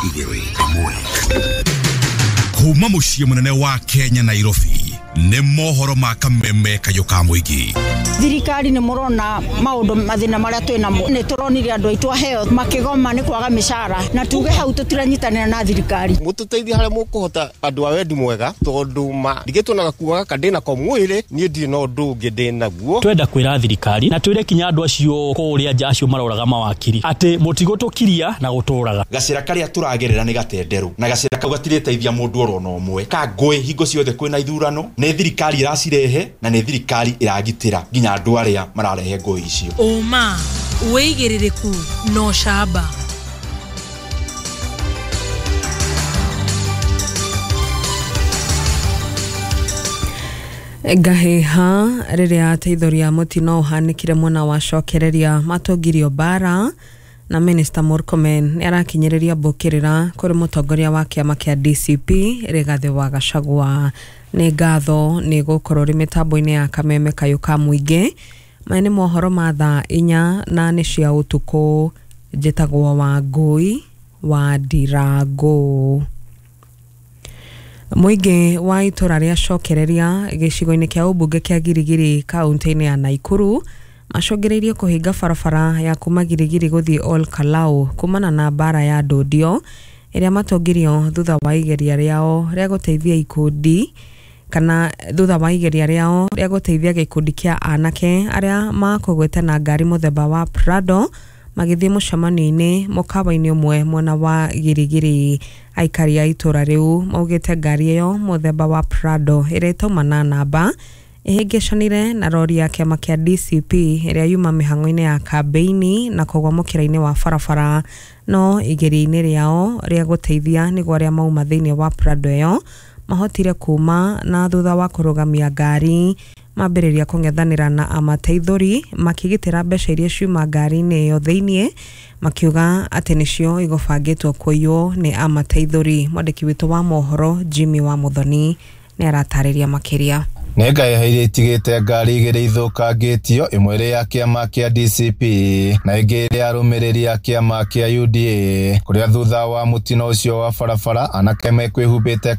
igĩrĩ ĩmwe. Kuma mũciĩ mũnene wa Kenya, Nairobi, nĩ mohoro ma kameme kayũ ka mũingĩ. Thirikari nĩ mũrona maũndũ mathĩna marĩa twĩ namo. Nĩ tũronire andũ aitũ aheo makĩgoma nĩ kwaga mĩcara, na tuge hau tũtiranyitanĩra na thirikari. Mũtũteithie harĩa mũkũhota, andũ a wendi mwega, tondũ ma ndigĩtwo na gakuo gaka ndĩnako mwĩrĩ, niĩ ndirĩ na ũndũ ũngĩ ndĩnaguo. Twenda kwĩra thirikari na twĩre kinya andũ acio kũrĩa nja acio maroraga mawakiri atĩ mũtigũtũkiria na gũtũraga. Gacĩra karĩa tũragerera nĩ gatenderũ, na gacĩra kau gatirĩteithia mũndũ oro na ũmwe. Ka ngũĩ hingo ciothe kwĩna ithurano, nĩ thirikari ĩracirehe na nĩ thirikari ĩragitĩra nginya andũ arĩa mararehe ngũĩ icio. Ũma, wĩigĩrĩrĩku na ũcamba. Ngahĩha rĩrĩa ateithũri a mũtino ũhanĩkire mwena wa cokereria matongirio mbara, na Minister Murkomen nĩ arakinyĩrĩria mbũkĩrĩra kũrĩ mũtongoria wa kĩama kĩa DCP Rigathĩ wa Gachagua. Nĩ ngatho nĩ gũkorwo rĩ mĩtambo-inĩ ya kameme kayũ ka mũingĩ. Maya nĩ mohoro ma thaa 4 na nĩ cia ũtukũ. Njĩtagwo Wangũi wa Ndirangũ. Mũingĩ wa itũra rĩa cokereria gĩcigo-inĩ kĩa ũmbunge kĩa Girigiri kaunti-inĩ ya Naikuru macũngĩrĩirie kũhinga barabara ya kuma Girigiri gũthiĩ Ol Kalou kumana na mbara ya ndũndio ĩrĩa matongirio thutha wa igeria rĩao rĩa gũteithia ikundi kana thutha wa igeria rĩao rĩa gũteithia gĩkundi kĩa anake arĩa makũgwĩte na ngari mũthemba wa Prado magĩthiĩ mũcemanio-inĩ mũkawa-inĩ ũmwe mwena wa Girigiri. Aikari a itũra rĩu maugĩte ngari ĩyo mũthemba wa Prado ĩrĩa ĩtauma na namba ĩhĩngĩcanire na rori ya kĩama kĩa DCP ĩrĩa yuma mĩhang'o-inĩ ya kambĩini na kũgwa mũkĩra-inĩ wa barabara, no igeria-inĩ rĩao rĩa gũteithia nĩguo arĩa mauma thĩinĩ wa Prado ĩyo mahotire kuma, na thutha wa kũrũgamia ngari mambĩrĩria kũng'ethanĩra na amateithũri makĩgitĩra mbeca iria ciuma ngari-inĩ ĩyo thĩinĩ, makiuga atĩ nĩcio igũbangĩtwo kũiywo nĩ amateithũri. Mwandĩki witũ wa mohoro Jimmy wa Muthoni nĩ aratarĩria makĩria. Nĩ ngahĩha iria itigĩte ngari igĩrĩ ithũkangĩtio, ĩmwe ĩrĩ ya kĩama kĩa DCP na ĩngĩ ĩrĩ ya arũmĩrĩri a kĩama kĩa UDA, kũrĩa thutha wa mũtino ũcio wa barabara anake mekwĩhumbĩte.